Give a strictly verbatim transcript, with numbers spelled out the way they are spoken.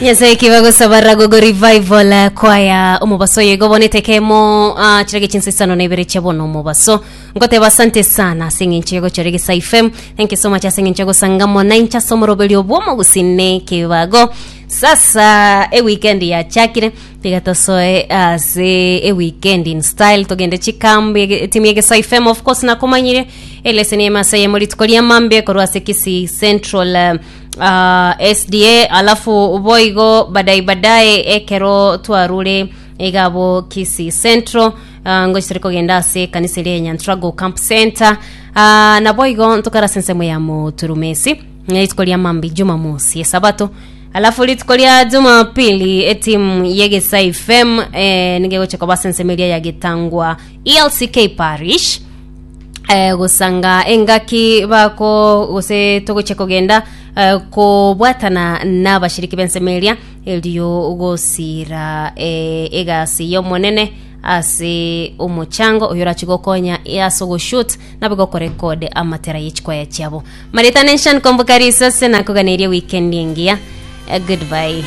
Nyasaye kibagosaba Ragogo Revival eh, kwaya omobaso oyo igo bonete kemo uh, chirage chinsa isano na ibere chia bono omobaso. Ngoteba asante sana ase eng'encho yagochora Egesa F M. Thank you so much ase eng'encho yagosanga mona inche ase omoroberio bw'omogusine kibago. Sasa eweekend yachakire, tiga tosoe ase eweekend in style, togende chikambi etimu ya Egesa F M. Of course nakomanyire eleseni emasa yemo rituko ria mambia korwa ase Kisii Central eh, uh, S D A, alafu boigo badai badae ekero twarure igabo Kisii Central uh, ngochitere kogenda ase kanisa eria ya Nyantrago Camp Center uh, naboigo ntokara ase ensemo ya Moturumesi rituko ria mambi Jumamosi esabato, alafu rituko ria Jumapili etimu yegesa F M eh, nigegocha koba ase ensemo eria ya Gitangwa E L C K Parish eh, gosanga engaki bako gose togochia kogenda eh, kobwatana n'abashiriki b'ensemo eria erio gosira eh, egasi y'omonene ase omochango oyo orachi gokonya ase ogoshut nabe gokorekode amatera y'echikwaya chiabo. Marita Nation, komboka risase nakoganeria weekend engiya. Eh, goodbye.